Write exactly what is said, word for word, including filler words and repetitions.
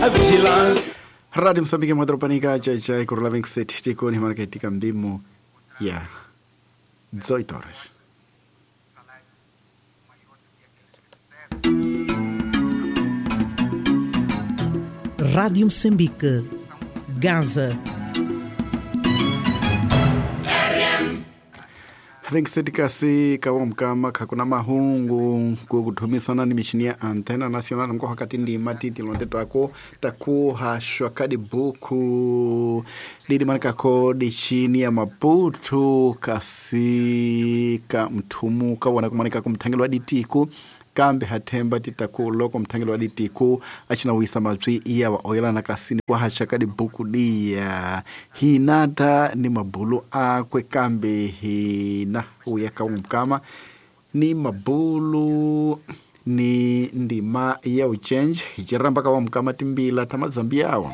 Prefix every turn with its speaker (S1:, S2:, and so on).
S1: A vigilância.
S2: Rádio Moçambique Madropanica, tchai tchai, Kurula vinte e sete, tikoni marketika mdimo ya dezoito horas.
S3: Rádio Moçambique, Gaza.
S2: vinte e sete kasi kawa mkama kakuna mahungu kukuthumisana ni mishini ya antena nacional nko hakati ndima titi londe twako takuhashwa kadi buku lili manikako dichini ya Maputo kasi ka mthumu kawona kumanika kumthangelo wa ditiku kambe hathemba titaku loko mthangelo wa ditiku achina wisa mabyi iya wa oyelana kasini kuhaxa ka dibuku diya hinata ni mabulu akwe kambe hina uya ka mkama ni mabulu ni ndima ya uchenje hiciramba ka wa mkama timbila ta mazambi yawa.